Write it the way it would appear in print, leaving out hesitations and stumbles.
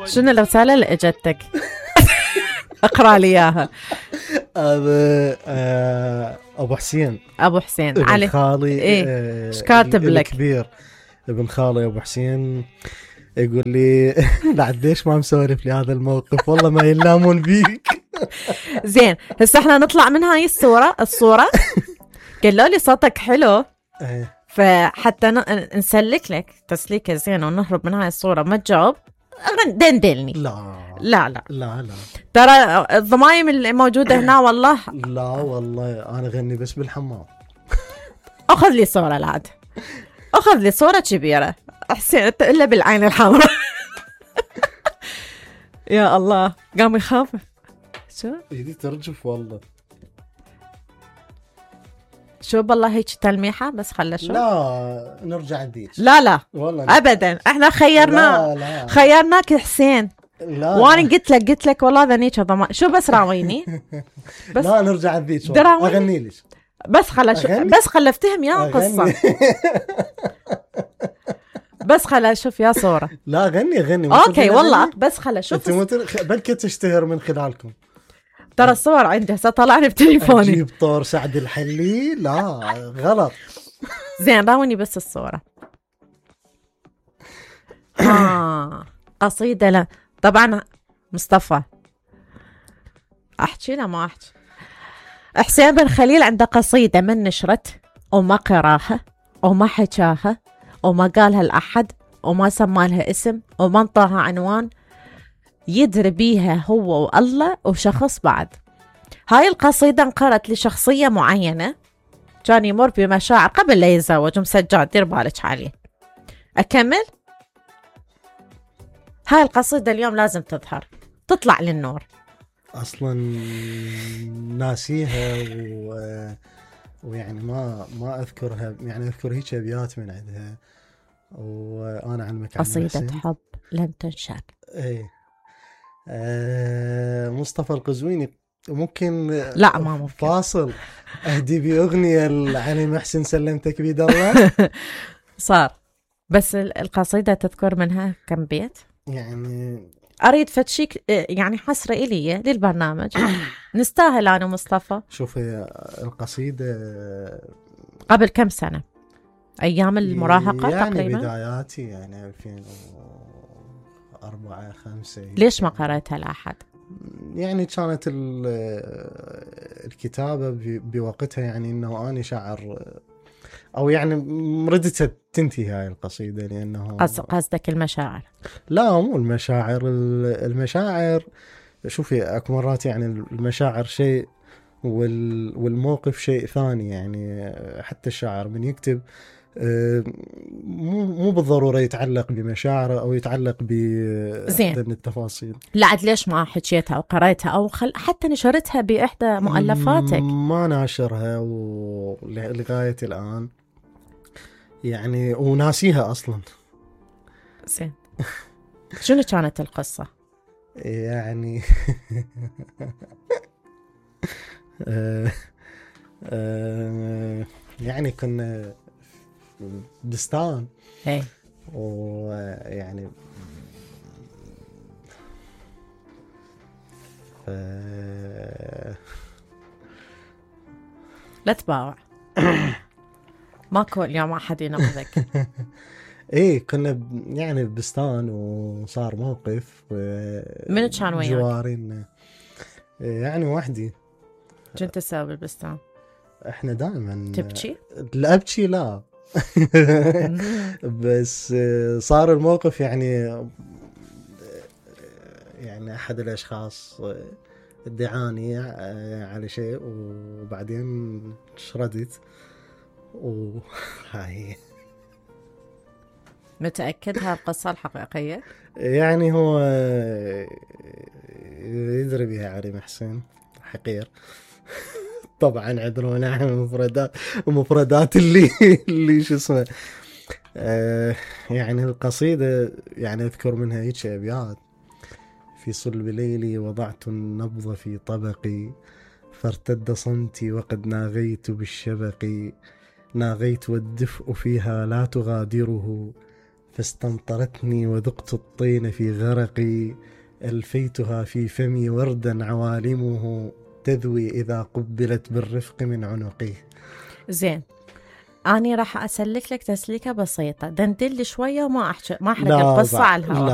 شنو الرسالة اللي اجتك؟ اقرأ لي اياها. ابو حسين ابن علي خالي. ايش كاتب لك؟ كبير ابن خالي ابو حسين يقول لي لعديش ما مسولف لي هذا الموقف، والله ما يلامون بيك. زين هسه احنا نطلع من هاي الصورة قالوا لي صوتك حلو فحتى نسلك لك تسليكة زين ونهرب من هاي الصورة ما تجاوب دندلني. لا ترى الضمايم اللي موجودة هنا والله لا والله أنا غني بس بالحمام. أخذ لي صورة العاد، أخذ لي صورة كبيرة حسين إلا بالعين الحمراء. يا الله قام يخاف. شو يدي ترجف والله. شو بالله هيك تلميحة بس خلى شو. لا نرجع نديش. لا والله أبدا احنا خيرناك حسين. لا وانا قلت لك والله ذنيك ضمان شو بس راويني. بس لا نرجع نديش اغني ليش بس خلى افتهم يا قصة. بس خلى اشوف يا صورة. لا غني اوكي والله بس خلى اشوف. بلكي تشتهر من خلالكم. ترى الصور عندي هسه طلعني بتليفوني. اجيب طور سعد الحلي لا غلط. زين راوني بس الصورة. قصيدة لا طبعا مصطفى احكي لا ما احكي. حسين بن خليل عنده قصيدة من نشرت وما قراها وما حكاها وما قالها لأحد وما سمى لها اسم وما انطاها عنوان، يدري بيها هو والله وشخص بعد. هاي القصيدة انقرت لشخصية معينة كان يمر بمشاعر قبل لا يتزوج مسجاد، دير بالك عليه. أكمل. هاي القصيدة اليوم لازم تظهر تطلع للنور. أصلا ناسيها ويعني ما أذكرها، يعني أذكر هيك أبيات من عندها وأنا علمك قصيدة حب لم تنشر. إيه مصطفى القزويني ممكن. لا ما ممكن. فاصل أهدي بأغنية لعلي محسن سلمتك بيد الله. صار بس القصيدة تذكر منها كم بيت يعني أريد فتشيك يعني حسرة إلي للبرنامج. نستاهل أنا مصطفى. شوفي القصيدة قبل كم سنة أيام المراهقة يعني تقريبا بداياتي يعني 2004 5. ليش ما قرأتها لأحد؟ يعني كانت الكتابة بوقتها يعني إنه أنا شاعر أو يعني ردت تنتهي هاي القصيدة لأنه قصدك المشاعر. لا مو المشاعر شوفي أكو مرات يعني المشاعر شيء والموقف شيء ثاني. يعني حتى الشاعر من يكتب مو بالضرورة يتعلق بمشاعره أو يتعلق بأحد التفاصيل. لا عاد ليش ما حكيتها أو قرأتها أو حتى نشرتها بإحدى مؤلفاتك؟ ما ناشرها لغاية الآن يعني وناسيها أصلا. زين شنو كانت القصة؟ يعني يعني كنا بستان ويعني لا تباوع. ماكو اليوم احد ينقذك. ايه كنا يعني بستان وصار موقف من كان وياك؟ جوارين يعني وحدي. كنت تسوي بالبستان؟ احنا دائما تبكي؟ لا ابكي لا. بس صار الموقف يعني احد الاشخاص ادعاني على شيء وبعدين شردت وهاي. متأكد هالقصة الحقيقية؟ يعني هو يدري بها علي محسن حقير. طبعا عذرونا عن المفردات اللي شو اسمه. يعني القصيدة يعني اذكر منها هيك ابيات. في صلب ليلي وضعت النبض في طبقي فارتد صمتي وقد ناغيت بالشبق. ناغيت والدفء فيها لا تغادره فاستمطرتني وذقت الطين في غرقي، ألفيتها في فمي وردا عوالمه تذوي إذا قبلت بالرفق من عنقي. زين، أنا راح أسلك لك تسليكة بسيطة، دندل شوية وما أحرق لا القصة على الهواء. لا